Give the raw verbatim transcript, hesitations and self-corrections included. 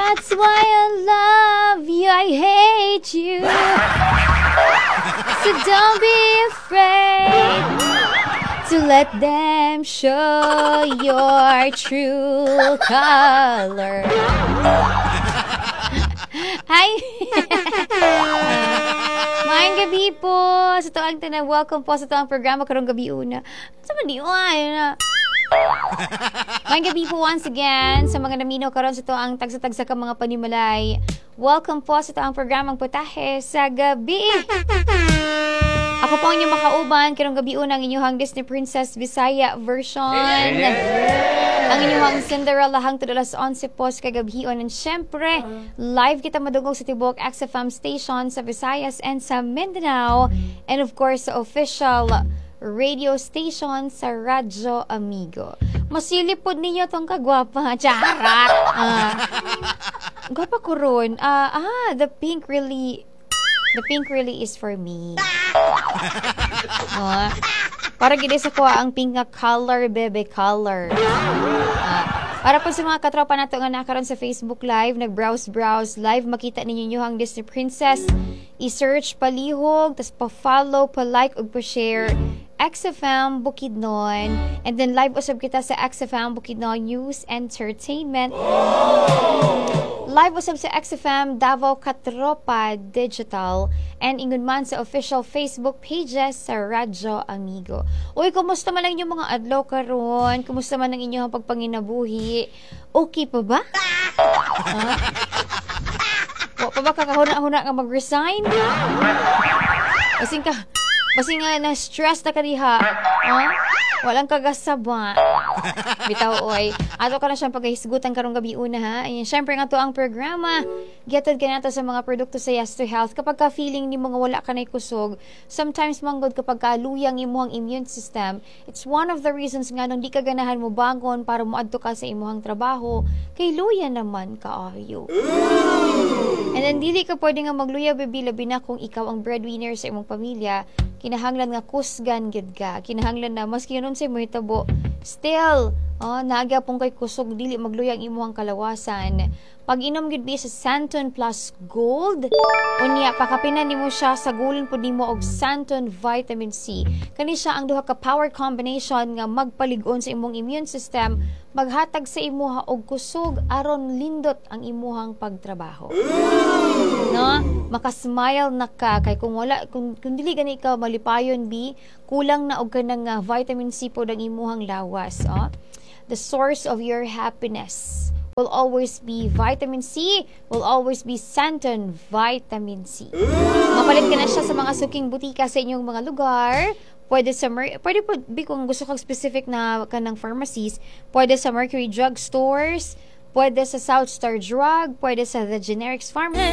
That's why I love you, I hate you. So don't be afraid to let them show your true color. Hi! Maayong gabi po sa atoang tanan. Welcome po sa atoang programa karong gabi una. Sa man di ay na. Maayong gabi po once again sa mga naminaw karon sa atoang tagsa-tagsa ka mga panimalay. Welcome po sa atoang programang Putahe sa Gabi. Ako po ang inyong makauban karong gabi una ang inyong Disney Princess Bisaya version. Ang inyong Cinderella hangtod alas onse po sa kagabhion. And syempre, live kita madungog sa tibuok X F M station sa Visayas and sa Mindanao. And of course, sa official radio station sa Radyo Amigo. Masilip pod ninyo tong kagwapa. Charat! Ah, gwapa ko ron. Ah, ah, the pink really, the pink really is for me. Oh, para gid sa kuha ang pink nga color, bebe color. Ah, para po sa mga katropa nato nga nakaron sa Facebook Live, nag-browse-browse live, makita ninyo ang Disney Princess. I-search palihog, tas pa-follow, pa-like ug pa-share X F M Bukidnon. And then live usab kita sa X F M Bukidnon News Entertainment. Live usab sa X F M Davao Katropa Digital and ingon man sa official Facebook pages sa Radyo Amigo. Uy, kumusta man lang inyong mga adlaw karon? Kumusta man ang inyong pagpanginabuhi? Okay pa ba? Ha? Wa pa ba kakahuna-huna nga mag-resign? Basin ka, basin nga na-stress na ka diha. Ha? Walang kagasaba. Bitaw oy. Ato ka na siyang pagkahisgutan karong gabi una ha. Ayan, syempre nga to ang programa. Gihatod ka nato sa mga produkto sa Yes to Health. Kapag ka feeling ni mga wala ka na kusog, sometimes manggod kapag ka luyang imuhang immune system, it's one of the reasons nga nung di ka ganahan mo bangon para moadto ka sa imuhang trabaho, kay luya naman kaayo. And then dili ka pwede nga magluya, baby, labi na kung ikaw ang breadwinner sa imong pamilya. Kinahanglan nga kusgan gid ka. Kinahanglan na maski unsay mahitabo, still oh, naa pong kay kusog, dili magluya ang imuhang kalawasan. Pag-inom gid bi sa Santon Plus Gold, unya pakapinan nimo siya sa gulon pud nimo og Santon Vitamin C. Kani siya ang duha ka power combination nga magpalig-on sa imong immune system, maghatag sa imuha og kusog aron lindot ang imuhang pagtrabaho. No? Makasmile na ka kay kung wala kung, kung dili gani ka malipayon bi, kulang na og kanang uh, vitamin C pod ang imuhang lawas, oh. The source of your happiness will always be vitamin C, will always be Santon Vitamin C. Mapalit ka na siya sa mga suking butika sa inyong mga lugar. Pwede sa Mer- pwede po bi kung gusto kang specific na kanang pharmacies, pwede sa Mercury Drug Stores, pwede sa South Star Drug, pwede sa The Generics Pharmacy.